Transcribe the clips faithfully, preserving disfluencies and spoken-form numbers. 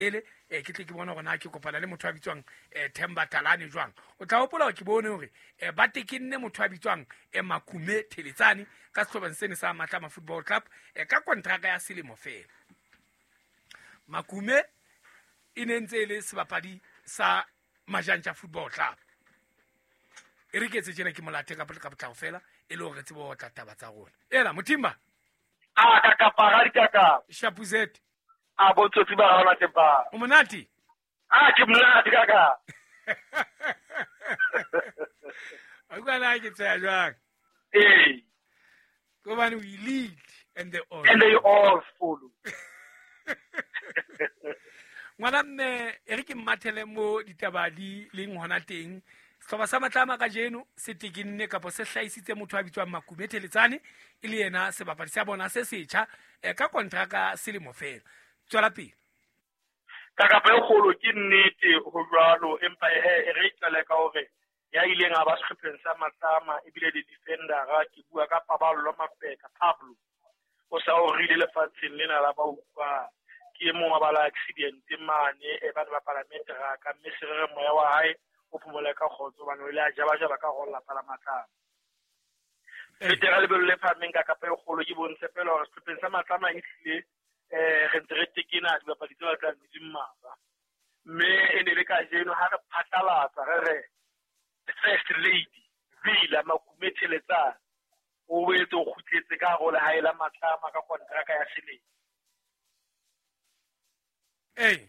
Ele eh, ke tle ke bone hore na ke kopana le motho a bitswang eh, Themba Talane jwang. O tla hopola hore ke bone hore eh, ba tekenne motho a bitswang eh, Makume Theletsane ka sehlopheng sene sa Matlama Football Club eh, ka kontraka ya selemo fela. Makume e ne ntse e le sebapadi sa Majantja Football Club. E re ke etse tjena, ke molate ka ka potlako fela e le hore re tsebe ho otla taba tsa rona. Ela Mothimba. A ka kapa ga dikaka. Shapuzet. A botsotsi ba rona teng ba. O monate? A ke monate kaka. A utlwa na ke tsaya jwang? Ee. Hobane we lead and they all. And they all follow. Ngwana mme, e re ke mmathele mo ditaba di leng hona teng. Sehlopha sa Matlama kajeno se tekenne kapa se hlahisitse motho a bitswang Makume Theletsane e le yena sebapadi sa bona se setjha eh, ka kontraka selemo fela. Tswela pele. Ka kapa e kgolo ke nnete ho jwalo, empa he e re qale ka hore ya ileng a ba sehlopheng sa Matlama ebile le defendera, ke bua ka Paballo Mafeka Pablo. O sa o rile lefatsheng lena la ba utlwa. Ke e mong wa ba la accident mane e ba bapala meteraka, mme se re moya wa hae o phomole ka kgotso hobane o ile a jabajaba ka ho lapa la Matlama. Fetera lebelo le phahameng ka kapa e kgolo, ke bontshe fela hore sehlopheng sa Matlama e hlile eh re ntse re tekena dibapadi tse batlang di mmalwa. Mme e ne le kajeno ha re phatlalatsa re re First Lady Villa Makume Theletsane o boetse o kgutletse ka hare ho lehae la Matlama ka kontraka ya selemo. Ee.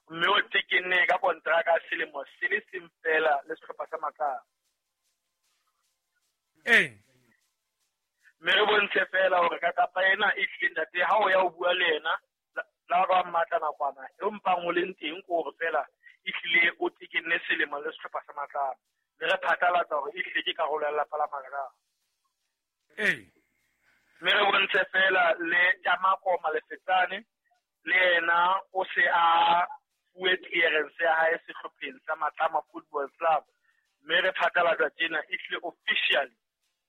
Mme o tekenne ka kontraka ya selemo se le seng fela le sehlopha sa Matlama. Ee. Mme re bontshe fela hore ka kapa ena e hlile ntate ha o ya o bua le yena la ba mmatla nakwana e mpang o leng teng ke hore fela e hlile o tekenne selemo le sehlopha sa Matlama. Mme re phatlalatsa hore e hlile ke karolo ya lelapa la Matlama. Ee. Mme re bontshe fela le Tamako Malefetsane le yena o se a fuwe clearance ya hae sehlopheng sa Matlama Football Club. Mme re phatlalatsa tjena e hlile officially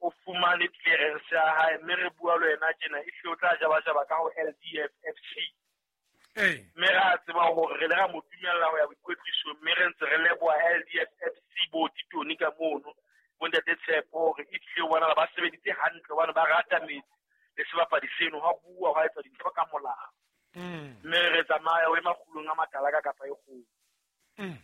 o fumane clearance ya hae, mme re bua le yena tjena e hlile o tla jabajaba ka ho L D F F C. Ee. Mme re a tseba hore re le ra mo dumella ho ya boikwetlisong, mme re ntse re leboha L D F F C bo Titone ka mono bo ntate Tshepo hore e hlile bona ba sebeditse hantle hobane ba rata metsi le sebapadi seno, ha bua hwa etsa dintho ka molao. Mm. Mme re tsamaya o e makgulong a matala ka kapa e kgolo. Mm.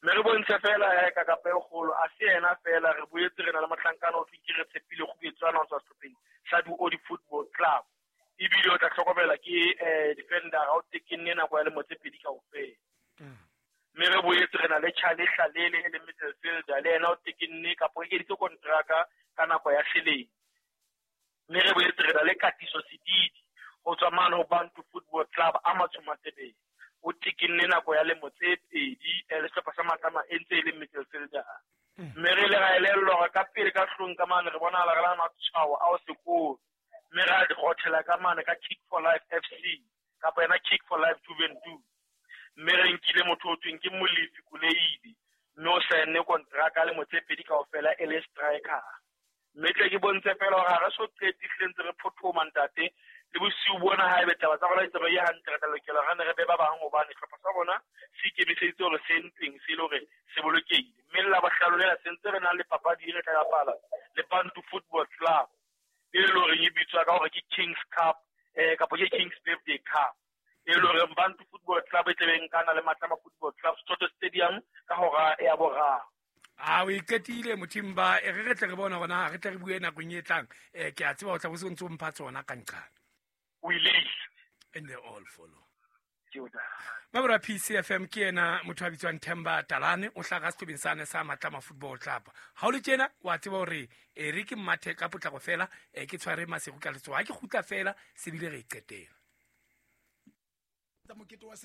Mme re bontshe fela he ka kapa e kgolo, a se yena fela, re boetse re na le mohlankana o thweng ke re Tshepile Kgubetswana ho tswa sehlopheng sa Duodi Football Club. Ebile o tla hlokomela ke eh defender ha o tekenne nako ya lemo tse pedi kaofela. Mm. Mme re boetse re na le Charlie Hlalele e leng midfielder, le yena o tekenne kapa o ekeditse kontraka ka nako ya selemo. Mme re boetse re na le Katiso Sedidi ho tswa mane ho Bantu Football Club a Matsho Matebele. O tekenne nako ya lemo tse pedi le sehlopha sa Matlama e ntse e le midfielder. Mme re ile ra elellwa hore ka pele ka hlong ka mane re bonahala re na le matshwao a ho sekolo. Mme ra di rothela ka mane ka Kick for Life F C kapa yena Kick for Life Juventus. Mme re nkile motho o thweng ke Molefi Kuleidi, mme o saenne kontraka lemo tse pedi kaofela e le striker. Mme tle ke bontshe fela hore ha re so qete hlile ntse re phothoma ntate le bosiu bona ha ebe taba tsa rona di tsamaye hantle, re tla lokela re ne re be ba bang hobane sehlopha sa rona se ikemiseditse hore se ntweng se le hore se bolokehile. Mme le Labohlano lena se ntse re na le papadi e re tla bapala le Bantu Football Club e le horeng e bitswa ka hore ke Kings Cup eh kapa ke Kings Birthday Cup. E le horeng Bantu Football Club e tlebe nkana le Matlama Football Club Soto Stadium ka hora ya boraro. A o iqetile Mothimba, e re re tle re bone hore na re tle re bue nakong e tlang. Eh ke a tseba o tla bo se ntse o mpha tsona ka nqane. We lead. And they all follow. Ke o da. Mabura P C F M ke yena motho a bitswang Themba Talane, o hlaha sehlopheng sane sa Matlama Football Club. Ha o le tjena wa tseba hore e re ke mmathe ka potlako fela, e ke tshware Masego ka letsoho. Ha ke kgutla fela se bile re e qetela. Tsa mokete wa